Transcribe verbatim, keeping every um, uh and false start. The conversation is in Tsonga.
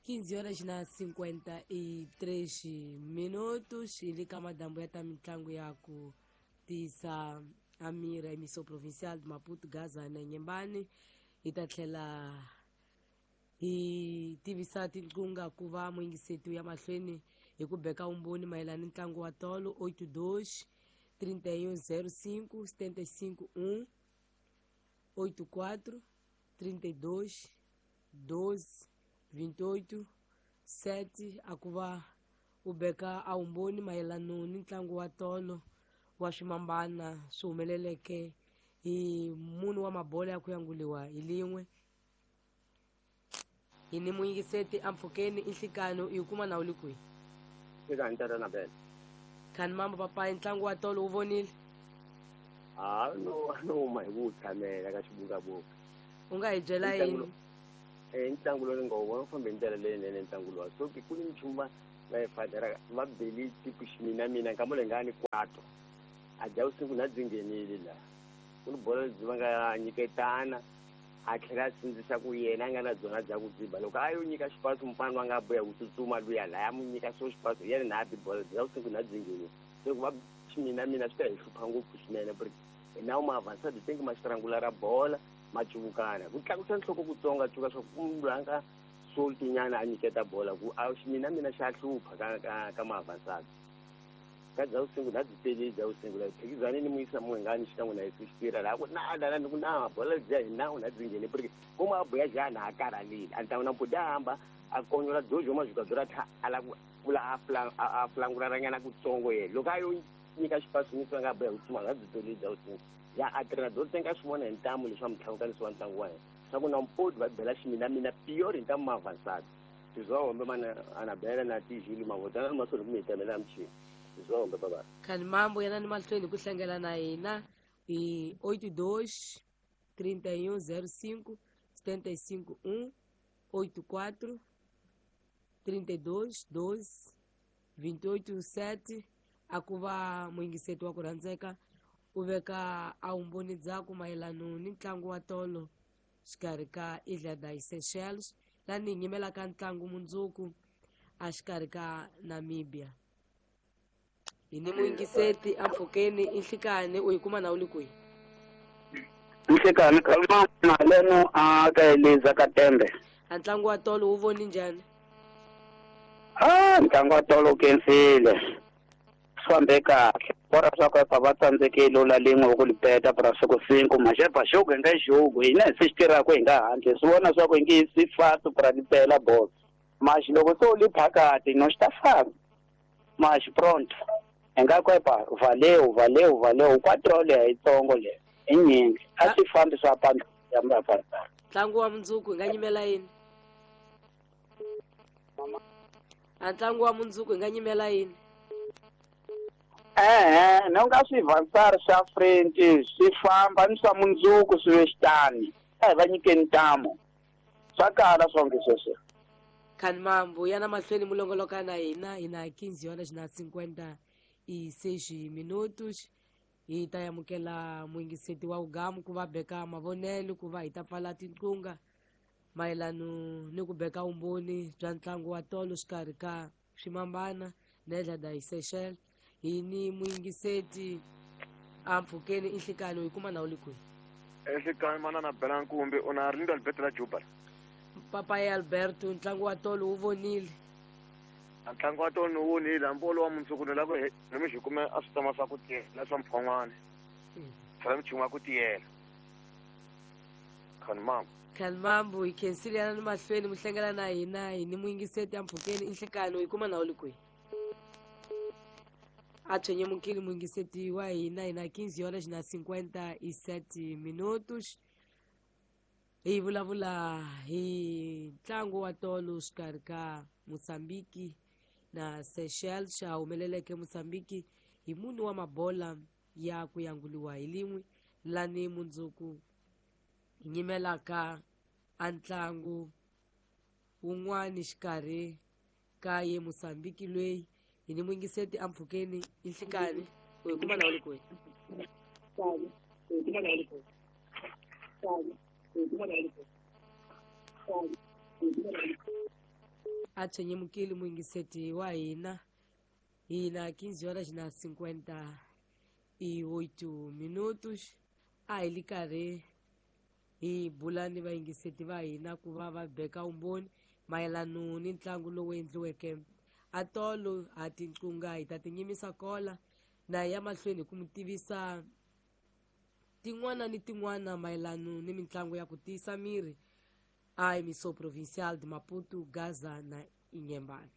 quinze horas na cinquenta e três minutos e lhe madambo ya ta mitlangu ya ku tisa Amira emissão provincial de Maputo, Gaza na Inhambane hi ta tlhela hi tivisa tinqunga ku va muyingiseti ya mahlweni hi ku beka umboni mayelana ni ntlangu wa tolo oito dois trinta e um zero cinco setenta e cinco um oito quatro trinta e dois doze vinte e oito sete a ku va u beka a umboni mayelana ni ntlangu wa tolo wa swimambana swi humeleleke hi munhu wa mabola ya ku yanguliwa hi lin'we hi ni muyingiseti ampfhukeni i nhlikano i kuma na u le kwihi eka ntata na bela khani mambo papayi ntlangu wa tolo wu vonile a no no huma hi ku tshamela ka xibukabuka u nga hi byela yini eh ntlangu lowu ni nga wu vona wu fambe hi ndlela leyinene ntlangu lowa so ku ni nchumu va va yi fadela va beli tiku ximina mina nkama leyi nga ni kwato a dya vusiku na byi nghenile laha ku ni bolo lebyi va nga nyiketana a tlhela a sindzisa ku yena a nga na byona bya ku dziba loko a yo nyika xipasi mufana wa nga boya ku tsutsuma luya laya mu nyika swo xipasi hi yena na a bi bolo bya vusiku na byi nghenile se ku va ximina mina swi ta hi hlupha ngopfu swinene porque hi nawu ma avansa byi tengi ma xirangula ra bola ma cuvukana ku tlakusa nhloko kutsonga cuka swa ku munhu loyi a nga soltinyana a nyiketa bola ku a ximina mina xa hlupha ka ka ka ma-avançado ka bya vusingu na byi tele bya vusingu la phikizani ni muyisa muhingani xikan'we na yesu xitira laha ku na lana ni ku na bola bya hi nawu na byi nghene porque ku ma boya jana a karhalile a ni ta na mputi a hamba a konyola dojo majuka tha a la ku pfula a fula a fulanguraranyana kutsongo yena loko a yo nyika xipasi nyika nga boya ku tsuma nga byi tele bya vusingu ya a tirha tenga swi vona hi ntamu leswi va mutlhavukanisi wa ntlangu wa yena swa ku na mpoti va bela ximina mina piyori hi ntamu ma avançado tizwa mana anabela na tijili mavotana mahlweni ku mi hitamela michini tizwa baba khani mambo yana ni mahlweni ku hlangela na hina hi oito dois trinta e um zero cinco setenta e cinco um oito quatro trinta e dois doze vinte e oito sete a ku va muyingiseti wa ku rhandzeka u veka a umboni dzaku mayelana ni ntlangu wa tolo xikarhi ka Ilha das Seychelles lani hi nyimelaka ntlangu mundzuku a xikarhi ka Namibia hi ni muyingiseti ampfhukeni i nhlikani u yi kuma na u le kwihi nhlikani kaleno a ka Eliza ka Tembe a ntlangu wa tolo wu voni njhani a ntlangu wa tolo wu kensile swi fambe kahle bora swa ku epa va tsandzekile la lin'we ku lipeta pra siku cinco maxepa jogo hi nga jogo hina hi se xi tirhaka hi nga handle swi vona swa ku hi nge si fasi pra lipela bolo maxi loko se u li phakati no xi ta famba maxi pronto hi nga ku epa valeu valeu valeu quatro leya yitsongo leya i nyingi a swi fambi swa pandla ya mapapa ntlangu wa mundzuku hi nga nyimela yini a ntlangu wa mundzuku hi nga nyimela yini eh no nga swi vansar swa French swi famba ni swa mundzuku swi ve xitani a hi va nyikeni ntamu swa kala swonke sweswo khani mambo yana mahlweni mulongoloka na hina hi na quinze horas na cinquenta e seis minutos hi ta amukela muyingiseti wa ugamu ku va beka mavonelo ku va hi ta pfala tinqunga mayelana ni ku beka umboni bya ntlangu wa tolo xikarhi ka swimambana na Ilha das Seychelles hi ni muyingiseti ampfhukeni i nhlikani u yi kuma na u le kwihi enhlikani manana bela nkumbi u na Arlindo Alberto la Juba papayi Alberto ntlangu wa tolo wu vonile a ntlangu wa tolo ni wu vonile hambi wolowo wa mundzuku ni lava ku ni xi kume a swi tama swa ku tiyela swa mphon'wana swa michumu ya ku tiyela khani mambo khani mambo hi khensile yana ni mahlweni muhlengela na hina hi ni muyingiseti ampfhukeni i nhlikani u yi kuma na u le kwihi a tshwenyemukile muyingiseti wa hina hi na quinze horas na cinquenta e sete minutos hi vulavula hi ntlangu wa tolo xikarhi ka Mozambique na Seychelles xa humeleleke Mozambique hi munhu wa mabola ya ku yanguliwa hi lin'we lani mundzuku hi nyimelaka a ntlangu wun'wani xikarhi ka ye Mozambique loyi hi ni muyingiseti ampfhukeni i nhlikani u yi kuma na u le kwihi A tshwenyemukile muyingiseti wa hina. Hina quinze horas na cinquenta e oito minutos. A hi li karhi hi bula ni vayingiseti va hina ku va va beka vumbhoni mayelano ni ntlangu lowu endliweke atolo. Ha tinqunga hi ta tinyimisa kola na ya mahlweni hi ku mi tivisa tin'wana ni tin'wana mayelano ni mitlangu ya ku tiyisa miri a Emissão Provincial de Maputo, Gaza na Inhambane.